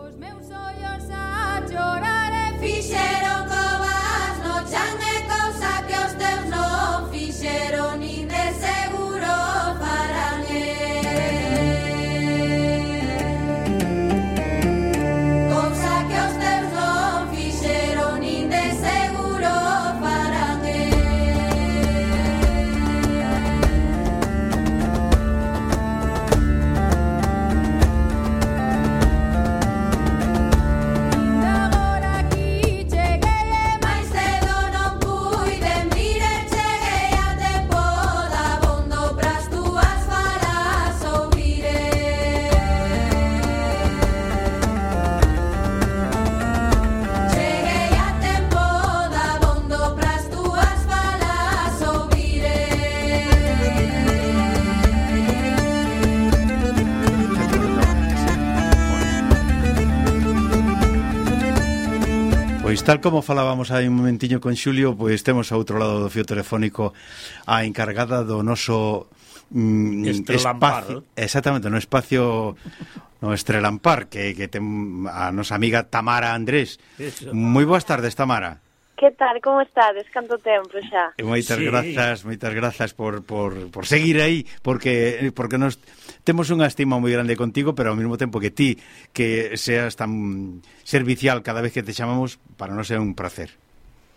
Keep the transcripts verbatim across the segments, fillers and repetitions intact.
Os meus ollos a chorar e fixeron covas no chan e cousa que os teus non fixeron nin de seguro farán cousa que os teus non fixeron nin de seguro farán agora aquí cheguei e máis cedo non puiden vir e cheguei a tempo dabondo pras túas falas ouvirei cheguei a tempo dabondo pras túas falas ouvirei. Pois tal como falábamos hai un momentiño con Xulio, pois temos ao outro lado do fío telefónico a encargada do noso mm, Estrelampar, espacio, exactamente, no espacio no Estrelampar, que, que ten a nosa amiga Tamara Andrés. Eso. Moi boas tardes, Tamara. Que tal, como estades? Canto tempo xa? E moitas Sí. grazas, moitas grazas por, por, por seguir aí, porque porque nos temos unha estima moi grande contigo, pero ao mesmo tempo que ti que seas tan servicial cada vez que te chamamos, para nós é un placer.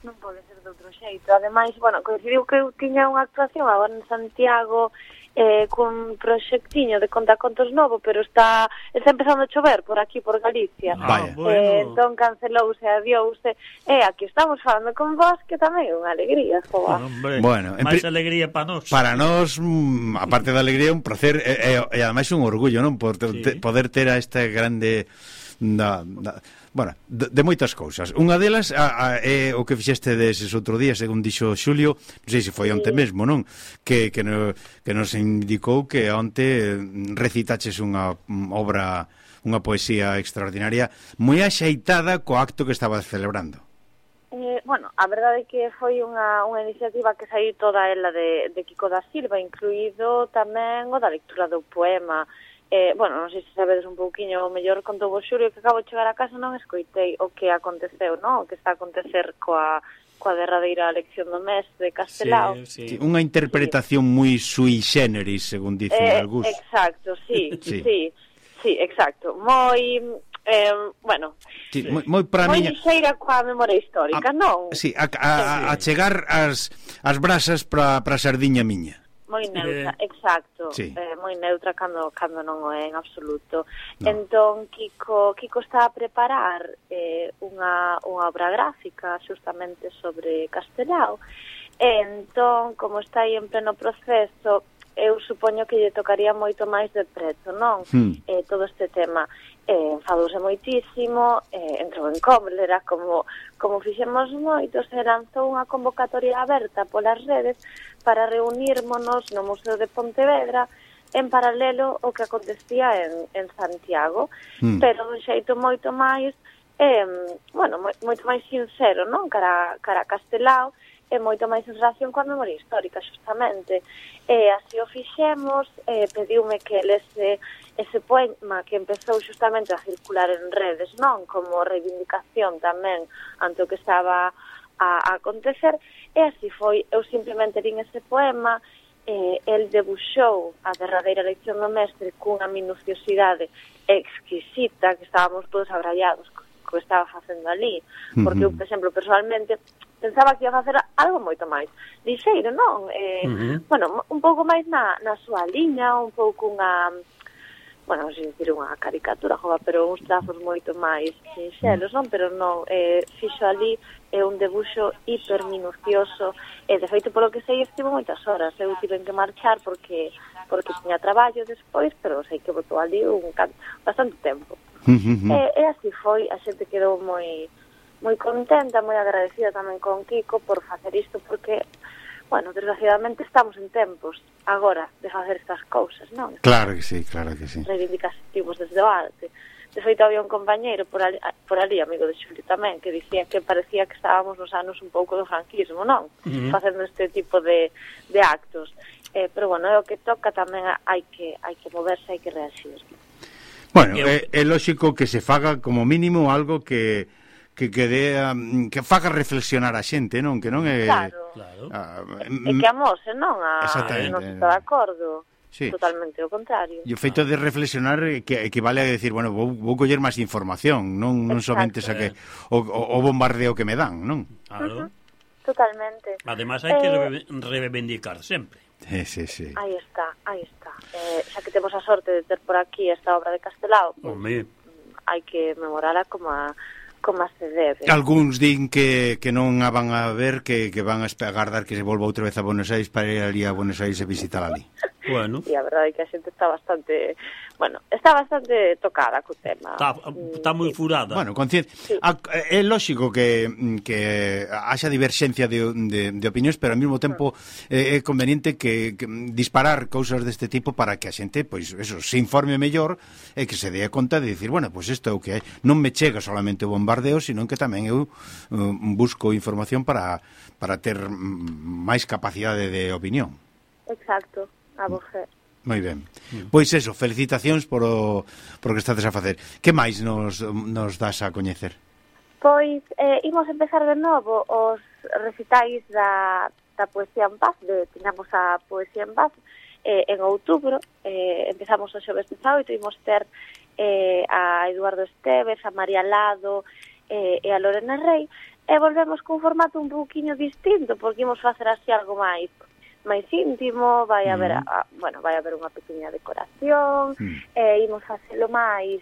Non pode ser de outro xeito. Ademais, bueno, coincidiu que eu tiña unha actuación agora en Santiago eh, cun proxectiño de contacontos novo, pero está está empezando a chover por aquí, por Galicia. Ah, Vaya. bueno. Eh, entón cancelouse, adiouse. E aquí estamos falando con vos, que tamén é unha alegría, joa. Hombre, Bueno, en máis pri- alegría para nós. Para nós, mm, aparte da alegría, un placer e, e, e ademais un orgullo, non? Por te, Sí. te, poder ter a este grande da, da, bueno, de, de moitas cousas. Unha delas a, a, é o que fixeste deses outro día, según dixo Xulio, non sei se foi onte mesmo, non? Que, que, no, que nos indicou que onte recitaches unha mm, obra, unha poesía extraordinaria, moi axeitada co acto que estabas celebrando. Eh, bueno, a verdade é que foi unha, unha iniciativa que saiu toda ela de, de Kiko da Silva, incluído tamén o da lectura do poema. Eh, bueno, non sei se sabedes un pouquiño, o mellor contou vos Xulio que acabo de chegar a casa non escoitei o que aconteceu, non? O que está a acontecer coa, coa derradeira elección do mes de Castelao. Sí, sí. Unha interpretación moi sui generis, según dicen Eh, algúns. exacto, sí, Sí. sí, sí, sí, exacto. Moi, eh, bueno, Sí, moi, moi para moi miña... lixeira coa memoria histórica, A- non? Sí, a, a, a chegar as, as brasas para a sardiña miña. Moi neutra, Eh, exacto, sí. eh, moi neutra cando cando non o é en absoluto. No. Entón Kiko Kiko está a preparar eh, unha unha obra gráfica xustamente sobre Castelao. E entón, como está aí en pleno proceso, eu supoño que lle tocaría moito máis de preto, non? Hmm. Eh, todo este tema eh, enfadouse moitísimo, eh, entrou en cólera como, como fixemos moitos, e lanzou unha convocatoria aberta polas redes para reunírmonos no Museo de Pontevedra en paralelo ao que acontecía en, en Santiago, Hmm. pero dun xeito moito máis eh, bueno, moi, moito máis sincero, non? Cara, cara a Castelao, e moito máis en relación coa memoria histórica, xustamente. E así o fixemos, eh, pediume que lese ese poema que empezou xustamente a circular en redes, non? Como reivindicación tamén ante o que estaba a, a acontecer, e así foi. Eu simplemente lín ese poema, eh, el debuxou a derradeira lección do mestre cunha minuciosidade exquisita, que estábamos todos abrallados co co que estaba facendo ali, porque eu, por exemplo, personalmente pensaba que ia facer algo moito máis lixeiro, non? Eh, Uh-huh. Bueno, un pouco máis na, na súa liña, un pouco unha, bueno, non sei dicir unha caricatura, jova, pero uns trazos moito máis sinxelos, non? Pero non, eh, fixo ali é un debuxo hiperminucioso, e de feito, polo que sei, estivo moitas horas. Eu tive que marchar porque porque tiña traballo despois, pero sei que botou ali un can... bastante tempo. Mm. E, e así foi, a xente quedou moi moi contenta, moi agradecida tamén con Kiko por facer isto, porque, bueno, desgraciadamente estamos en tempos agora de facer estas cousas, non? Claro que sí, claro que sí. Reivindicativos desde o arte. De feito, había un compañeiro por ali, por ali, amigo de Xulio tamén, que dicía que parecía que estábamos nos anos un pouco do franquismo, non? Uh-huh. Facendo este tipo de, de actos. Eh, pero, bueno, é o que toca tamén, hai que hai que moverse, hai que reagir. Bueno, Eu- é, é lógico que se faga como mínimo algo que que que dé, um, que faga reflexionar a xente, non? Que non é Claro. Claro. ah, E que amose, non? A, Exactamente. non se está de acordo. Sí. Totalmente o contrario. E o feito de reflexionar eh, que equivale a decir, bueno, vou, vou coller máis información, non non Exacto. somente esa que o, o, o bombardeo que me dan, non? Claro. Totalmente. Además hai que Eh, reve- reivindicar sempre. Sí, sí, sí. Aí está, aí está. Eh, xa que temos a sorte de ter por aquí esta obra de Castelao, pues, Home, hai que memorala como a, como a se debe. Algúns din que, que non a van a ver, que, que van a espe- agardar que se volva outra vez a Buenos Aires para ir ali a Buenos Aires e visitar ali. bueno, E a verdade é que a xente está bastante, bueno, está bastante tocada co tema. está está moi Sí. furada. Bueno, consciente. A- É lógico que, que haxa diverxencia de, de, de opinións, pero ao mesmo tempo eh, é conveniente que, que disparar cousas deste tipo para que a xente, pois, eso, se informe mellor e que se dé conta de dicir, bueno, pois isto é o que é. Non me chega solamente o bombardeo, sino que tamén eu uh, busco información para, para ter mm, máis capacidade de opinión. Exacto, a voce. Moi ben. Pois eso, felicitacións por o, por o que estades a facer. Que máis nos, nos das a coñecer? Pois, eh, imos empezar de novo os recitais da, da Poesía en Paz, de, tiñamos a Poesía en Paz eh, en outubro, eh, empezamos o xoves dezaoito, imos ter eh, a Eduardo Esteves, a María Lado eh, e a Lorena Rey, e volvemos cun formato un pouquiño distinto, porque imos facer así algo máis máis íntimo, vai haber, a, bueno, vai haber unha pequena decoración, Mm. e imos facelo máis,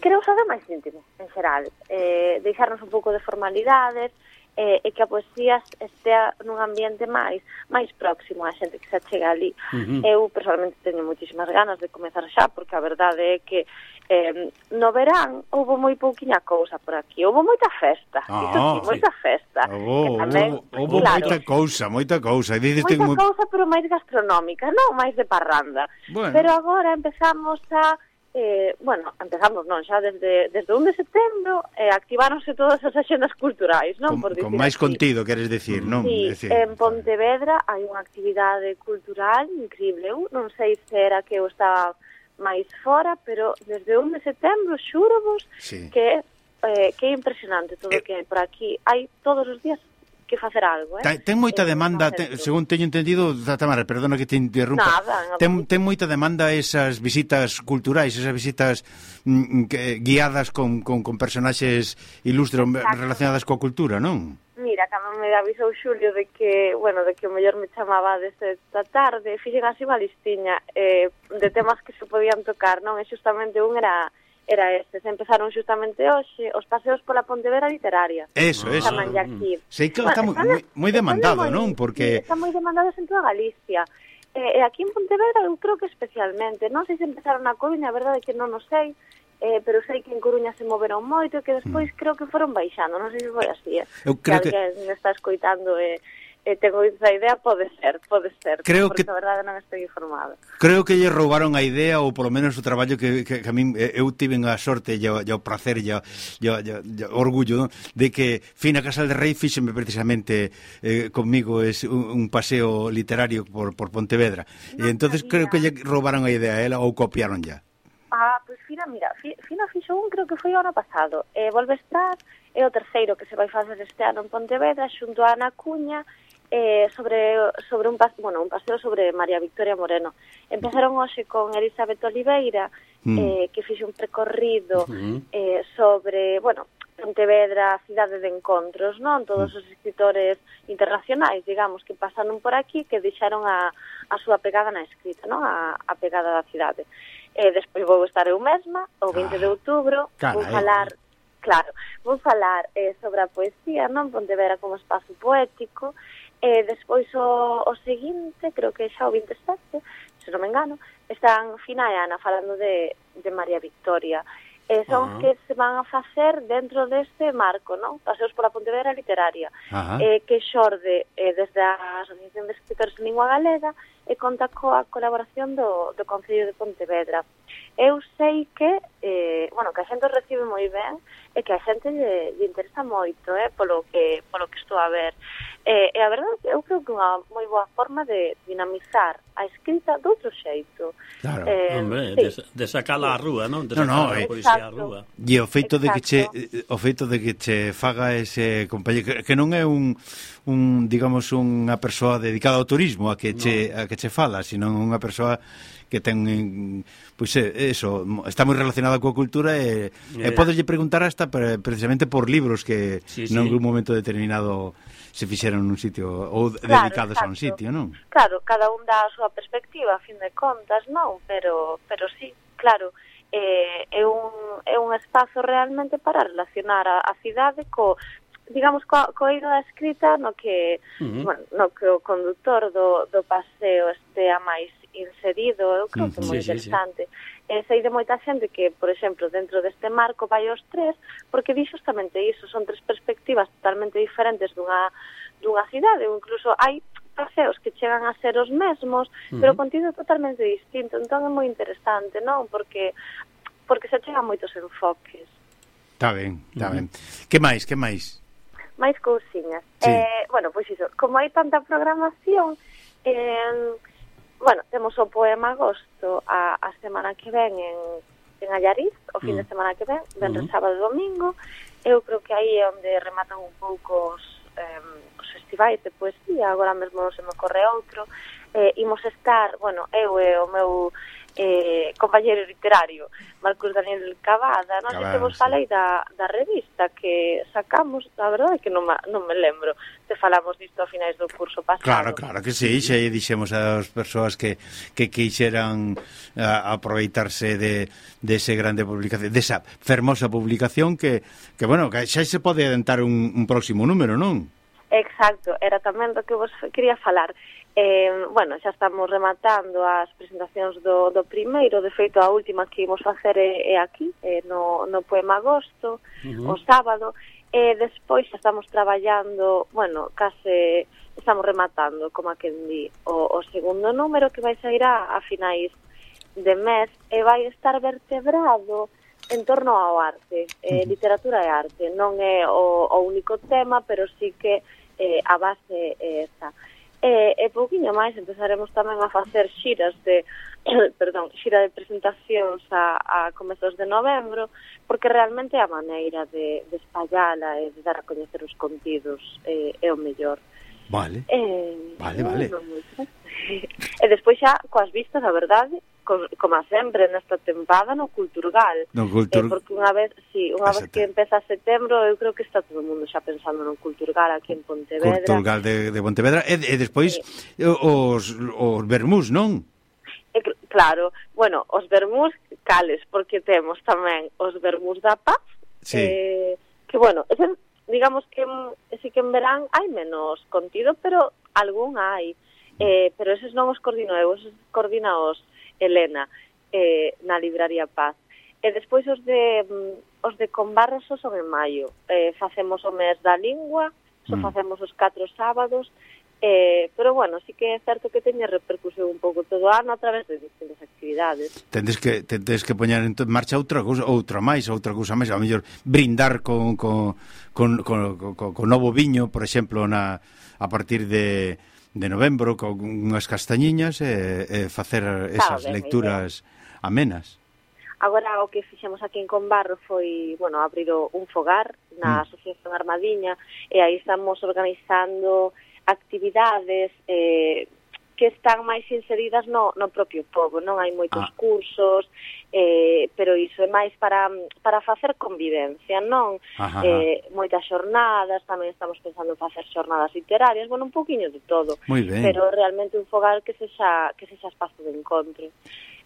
creo saber máis íntimo, en xeral, eh, deixarnos un pouco de formalidades, eh, e que a poesía estea nun ambiente máis máis próximo á xente que se chega ali. Ujú. Eu, personalmente, teño moitísimas ganas de comezar xa, porque a verdade é que eh, no verán houve moi pouquiña cousa por aquí, houve moita festa, Ah, iso sí, sí. moita festa. Houve, que tamén, houve claro, moita cousa, moita cousa. E dices moita moi... cousa, pero máis gastronómica, non máis de parranda. Bueno. Pero agora empezamos a eh, bueno, empezamos non, xa desde desde un de setembro eh, activáronse todas as axendas culturais, non? Con, Por con dicir máis así. contido, queres decir, non? Sí, Decir, en Pontevedra hai unha actividade cultural increíble. Eu non sei se era que eu estaba máis fora, pero desde un de setembro xúrovos Sí. que eh, que é impresionante todo o Eh. que hai por aquí. Hai todos os días que facer algo, eh? Ten, ten moita Eh, demanda, no ten, centro. según teño entendido, Tamara, perdona que te interrumpa. Nada, en ten, absoluto. ten moita demanda esas visitas culturais, esas visitas mm, que, guiadas con, con, con personaxes ilustres Exacto. relacionadas coa cultura, non? Mira, cando me avisou Xulio de que, bueno, de que o mellor me chamaba desde esta tarde, fixen así unha listiña eh, de temas que se podían tocar, non? E xustamente un era era este, se empezaron xustamente hoxe os paseos pola Pontevedra literaria. Eso, eso. Chamanlle aquí. Sei que está moi, están- moi, moi demandado, están non? moi- Porque... sí, están moi demandados en toda Galicia. E eh, aquí en Pontevedra eu creo que especialmente. Non sei se empezaron na Coruña, a verdade é que non o sei, eh, pero sei que en Coruña se moveron moito e que despois creo que foron baixando. Non sei se foi así, eh. Eu creo que que- alguén me está escoitando e eh, tengo esa idea, pode ser, pode ser. Creo porque que- a verdade non estou informada. Creo que lle roubaron a idea ou polo menos o traballo que, que, que a min eh, eu tiven a sorte e o, e o placer e o, e o, e o, e o orgullo, non? De que Fina Casal de Rei fíxeme precisamente eh, conmigo es un, un paseo literario por, por Pontevedra. E Non entonces creo sabía. que lle roubaron a idea a ela ou copiaron ya. Ah, pois Fina, mira, Fi- Fina fixo un, creo que foi o ano pasado. E volve a estar, é o terceiro que se vai facer este ano en Pontevedra, xunto a Ana Cuña, eh, sobre sobre un, pas, bueno, un paseo sobre María Victoria Moreno. Empezaron hoxe con Elizabeth Oliveira, Mm. eh, que fixe un percorrido Ujú. eh, sobre, bueno, Pontevedra, cidade de encontros, non? Todos os escritores internacionais, digamos, que pasaron por aquí, que deixaron a, a súa pegada na escrita, non? A, a pegada da cidade. E despois vou estar eu mesma, o vinte de outubro, vou carai. falar, claro, vou falar eh, sobre a poesía, non? Pontevedra como espazo poético, e despois o, o seguinte, creo que xa o vinte e sete, se non me engano, están Fina e Ana falando de, de María Victoria. E son Ah. que se van a facer dentro deste marco, non? Paseos pola Pontevedra literaria, Ajá. eh, que xorde eh, desde a Asociación de Escritores en Lingua Galega e conta coa colaboración do, do Concello de Pontevedra. Eu sei que, eh, bueno, que a xente o recibe moi ben e que a xente lle, lle interesa moito, eh, polo que polo que estou a ver. Eh, e a verdade, eu creo que é unha moi boa forma de dinamizar a escrita de outro xeito. Claro. Eh, Hombre, sí. de, de sacala á rúa, non? De no, sacar no, a eh, poesía á rúa. E o feito de que che Exacto. o feito de que che faga ese compañero que, que non é un un digamos unha persoa dedicada ao turismo a que che no. a que che fala, sino unha persoa que ten pois pues, eso, está moi relacionada coa cultura e, yeah. e podeslle preguntar hasta precisamente por libros que sí, sí. nalgún momento determinado se fixeron nun sitio ou claro, dedicados exacto. a un sitio, non? Claro, cada un dá a súa perspectiva, a fin de contas, non? Pero, pero sí, claro, eh, é, un, é un espazo realmente para relacionar a, a cidade co, digamos, co, co eido da escrita no que, uh-huh. bueno, no que o condutor do, do paseo estea máis inserido, eu creo que é moi sí, interesante. Sí, sí. E sei de moita xente que, por exemplo, dentro deste marco vai os tres, porque di justamente iso, son tres perspectivas totalmente diferentes dunha, dunha cidade, ou incluso hai paseos que chegan a ser os mesmos, uh-huh. pero o contido é totalmente distinto, entón é moi interesante, non? Porque porque se chegan moitos enfoques. Está ben, está uh-huh. ben. Que máis, que máis? máis cousiñas. Sí. Eh, bueno, pois iso, como hai tanta programación, eh, bueno, temos o Poema Agosto a, a semana que ven en, en Allariz, o fin mm. de semana que ven, venres, mm. sábado e domingo. Eu creo que aí é onde rematan un pouco os, eh, os festivais de poesía, agora mesmo non se me ocorre outro. Eh, imos estar, bueno, eu e o meu eh, compañeiro literario Marcos Daniel Cavada, non sei se vos falei da, da revista que sacamos, a verdade é que non, ma, non me lembro te falamos disto a finais do curso pasado. Claro, claro que sí, xa dixemos ás persoas que, que quixeran a, aproveitarse de, de ese grande publicación, desa fermosa publicación que, que bueno, que xa se pode adentar un, un próximo número, non? Exacto, era tamén do que vos quería falar. Eh, bueno, xa estamos rematando as presentacións do, do primeiro, de feito a última que imos facer é, é aquí, é no, no Poema Agosto, uh-huh. o sábado, e despois xa estamos traballando, bueno, case estamos rematando, como a quen di, o, o segundo número que vai sair a, a finais de mes e vai estar vertebrado en torno ao arte, eh, uh-huh. literatura e arte, non é o, o único tema, pero sí que eh, a base é esa. E, e pouquiño máis empezaremos tamén a facer xiras de perdón, xira de presentacións a, a comezos de novembro, porque realmente é a maneira de, de espallala e de dar a coñecer os contidos eh, é o mellor. Vale, eh, vale, vale. E despois xa coas vistas, a verdade, como sempre nesta tempada no Culturgal, no Cultur... eh, porque unha vez, sí, unha vez que empeza setembro, eu creo que está todo o mundo xa pensando no Culturgal aquí en Pontevedra. Culturgal de, de Pontevedra e, e despois sí. os, os vermús, non? E, claro, bueno, os vermús cales, porque temos tamén os vermús da Paz, sí. eh, que bueno, ese, digamos que sí que en verán hai menos contido, pero algún hai, eh, pero eses non os coordino eu, eses coordina os Elena, eh, na Libraría Paz. E despois os de os de Combarros son en maio. Eh, facemos o mes da lingua, só mm. facemos os catro sábados, eh, pero bueno, sí que é certo que teña repercusión un pouco todo o ano a través de distintas actividades. Tendes que tendes que poñer en marcha outra cousa, outra máis, outra cousa máis, a mellor brindar con con con con, con, con novo viño, por exemplo, na a partir de de novembro con unhas castañiñas e, e facer esas ah, ben, lecturas ben. amenas. Agora o que fixemos aquí en Combarro foi, bueno, abrir un fogar na mm. Asociación Armadiña e aí estamos organizando actividades eh, que están máis inseridas no, no propio pobo, non hai moitos ah. cursos, eh, pero iso é máis para, para facer convivencia, non? Ajá, eh, moitas xornadas, tamén estamos pensando en facer xornadas literarias, bueno, un poquinho de todo, pero realmente un fogar que sexa, que sexa espazo de encontro.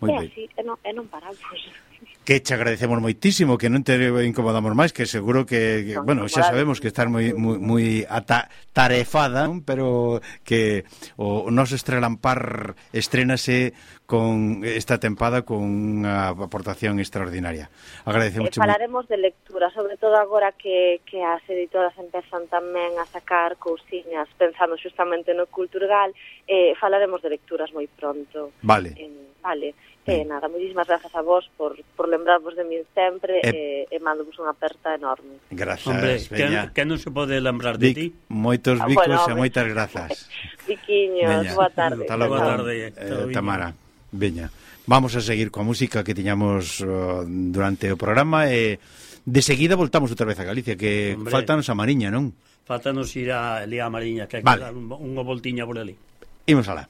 Muy e ben. Así, e non, e non paramos. que che agradecemos moitísimo, que non te incomodamos máis, que seguro que, que Non, bueno, xa incomodar. sabemos que estás moi moi, moi atarefada, non? Pero que o noso Estrelampar estrénase con esta tempada con unha aportación extraordinaria. Agradecemos E falaremos de lectura, sobre todo agora que, que as editoras empezan tamén a sacar cousiñas pensando xustamente no Culturgal, eh, falaremos de lecturas moi pronto. Vale. Eh, vale. Eh, nada, moitísimas grazas a vos por, por lembrarvos de min sempre e, e mando-vos unha aperta enorme. Grazas, Hombre, veña. que, que non se pode lembrar de ti. Vic, moitos Ah, bicos bueno, e hombre. moitas grazas. Viquiños, Veña. boa tarde. Hasta logo, Boa tarde, eh, Tamara. Veña. Vamos a seguir coa música que tiñamos uh, durante o programa e de seguida voltamos outra vez a Galicia, que Hombre. faltanos a Mariña, non? Faltanos ir a Elía Mariña, que hai Vale. que dar un, unha voltiña por ali. Imos alá.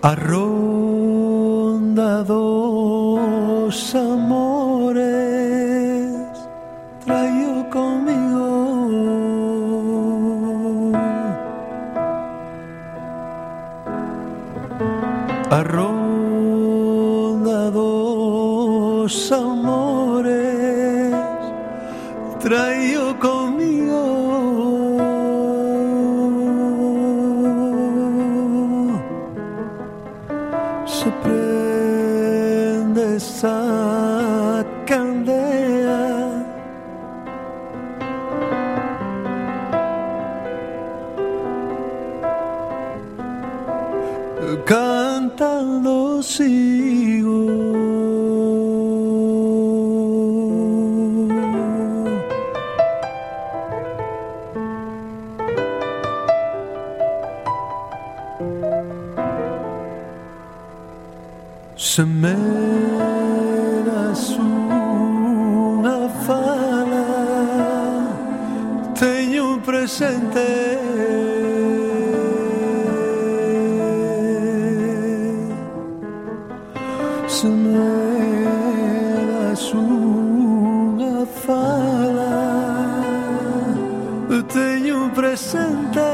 A ronda dos amores traio comigo a ronda dos amores traio comigo se prende esa candela cantando sigo se me das unha fala teño presente se me das unha fala teño presente